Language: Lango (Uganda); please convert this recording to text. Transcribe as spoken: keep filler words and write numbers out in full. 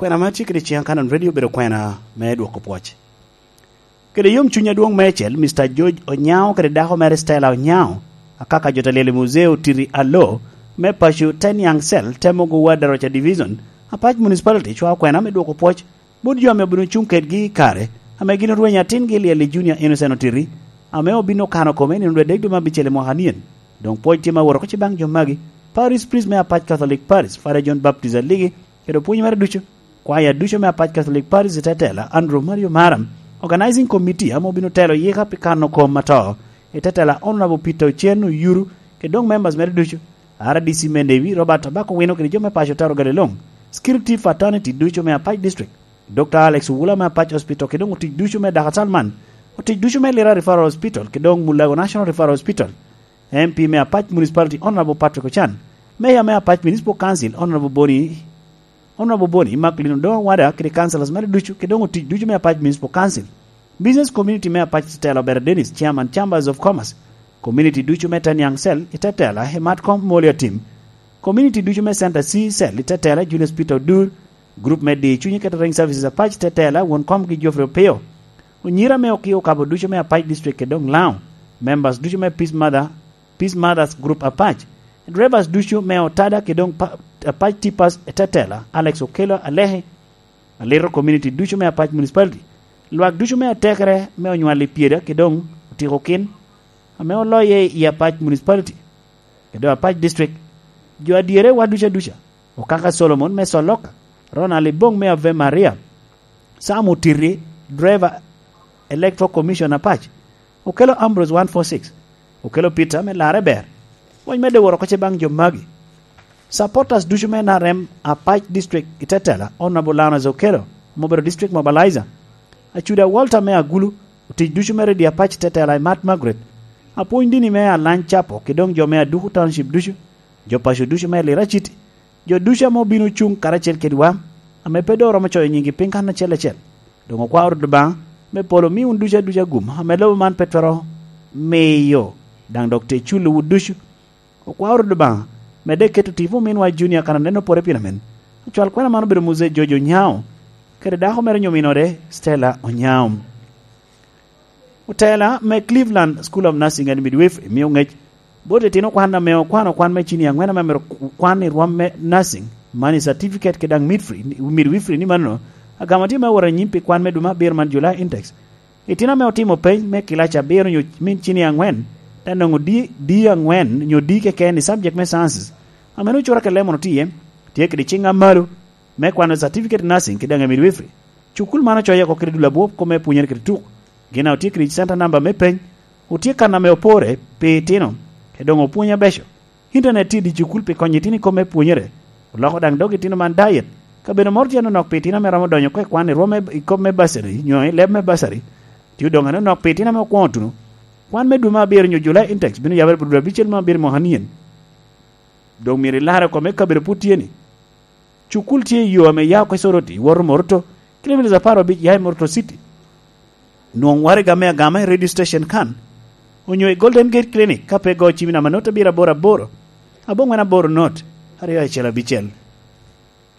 Kwena ma tye kede ciŋ Kanon Radio obedo kwena me dwoko pwoc. Kede yom cuny adwoŋ meicel, Mister George Onyao kede dako mere Stella Onyao, akaka jo ta lyel i muzee otiti alo me paco Teniang Cell, temo gowa Daroca Division, Apac Municipality cwao kwena me dwoko pwoc bot jo ame obino cuŋ kedgi i kare ame gin orwenyo atingi i lyel i Junior Innocent Otiti, ame obino kano kome i nino dwe dek dwe me abicel i mwaka nien. Doŋ pwoc tye ma woro oko ci baŋ jo magi: Parish Priest me Apac Catholic Parish, Father John Baptist Aligi, kede opwony mere ducu. Kwaya ducu me Apac Catholic Parish i te tela Andrew Mario Maram, Organizing Committee ame obino telo yika pi kano kom ato i te tela Honorable Peter Ochen Oyuru, kede doŋ members mere ducu. R D C me Newi, Robert Abako Wino, kede jo me paco Taro Galiloŋ, Security Fraternity ducu me Apac District, Doctor Alex Owula me Apac Hospital, kede doŋ otic ducu me Daka Salman, otic ducu me Lira Referral Hospital, kede doŋ Mulago National Referral Hospital, M P me Apac Municipality Honorable Patrick Ochan, Mayor me Apac Municipal Council Honorable Boni, Honorable Boni Maklin Odoŋo Wada, kede councillors mere ducu, kede doŋ otic ducu me Apac Municipal Council, business community me Apac Tetela Obera Dennis, Chairman Chambers of Commerce, community ducu me Teniang Cell i Tetela, Emat Kom Moli Atim, community ducu me Center C Cell i Tetela, Julius Peter Odur, group me Di Cunyi Catering Services Apac Tetela, won komgi Geoffrey Opio, onyira me Okio Okabo ducu me Apac District kede doŋ Lango, members ducu me Peace Mother, Peace Mothers Group Apac, drivers ducu me Otada kede doŋ pa-, Apac Tippers i Tetela, Alex Okello Aleki, Alito community ducu me Apac Municipality, lwak ducu me atekere me onywal i pyeda kede doŋ otiko kin ame oloye i Apac Municipality, kede doŋ Apac District, jo adyere wa ducu aduca, Okaka Solomon me Soloka, Ronald Ibong me Ave Maria, Sam Otiti, driver Electoral Commission Apac, Okelo Ambrose one four six, Okelo Peter me Larre Ber. Pwony medde woro oko ce baŋ jo magi. Supporters ducu me N R M Apac District i Tetela, Honorable Lanas Okelo, ame obedo District Mobilizer. Acuda Walter me Agulu, otic ducu me Redio Apac Tetela i Mat Margaret. Apwony dini me Alany Capo, kede doŋ jo me Aduku Township ducu, jo paco ducu me Lira City, jo ducu ame obino cuŋ karacel kedwa, ame pe doŋ oromo coyo nyingi piny kan acel acel. Doŋ okwao Rwot Obaŋa me polo omi wun ducu aduca gum ame lobo man pe twero miyo, daŋ dok te culo wu ducu. Okwao Rwot Obaŋa medde keto tipo ominwa Junior kan aneno pore pien amen. Acwal kwena man obedo Mose George Onyao, kede dako mere onyo ominode Stella Onyao. Otela me Cleveland School of Nursing and Midwifery mio ŋec bot itino kwan ame okwano kwan me cini aŋwen ame myero kwan i rwom me nursing, man i certificate kede daŋ midwifery, midwifery ni mano agamo tye me woro anyim pi kwan me dwe me abiro man July intakes. Itino ame otimo peny me kilaci abiro nyo min cini aŋwen, te nwoŋo di, di aŋwen nyo di keken i subject me sciences, ame nwoŋo cura kede lemon otye iye, tye kede ciŋ amalo me kwano certificate nursing kede daŋ midwifery. Cukul man ocoye oko kede dul abwop kome pwonyere kede tuk. Gin a otye kede center number me peny, otye kan ame opore pi itino, kede doŋ opwony abeco. Internet tye i dye cukul pi konyo itino i kome pwonyere. Oloko daŋ dog itino man diet. Kabedo moro tye anonok pi itino ame romo donyo oko i kwan i rwom me, i kop me basari, nyo i leb me basari. Tye odoŋ anonok pi itino ame okwoŋo tuno. Kwan me dwe me abiro nyo July intakes bino yabere pi dwe abicel me abiro mwaka nien. Doŋ myero ilarre oko me kabedo pwod tye ni. Cukul tye i yo ame ya oko i Soroti, iwoto Moroto, kilomitas apar obic ya i Moroto City. Nwoŋ waraga me agama i radio station kan, onyo i Golden Gate Clinic ka pe igo cim i namba note abiro aboro aboro, aboŋwen aboro note, aryo acel abicel.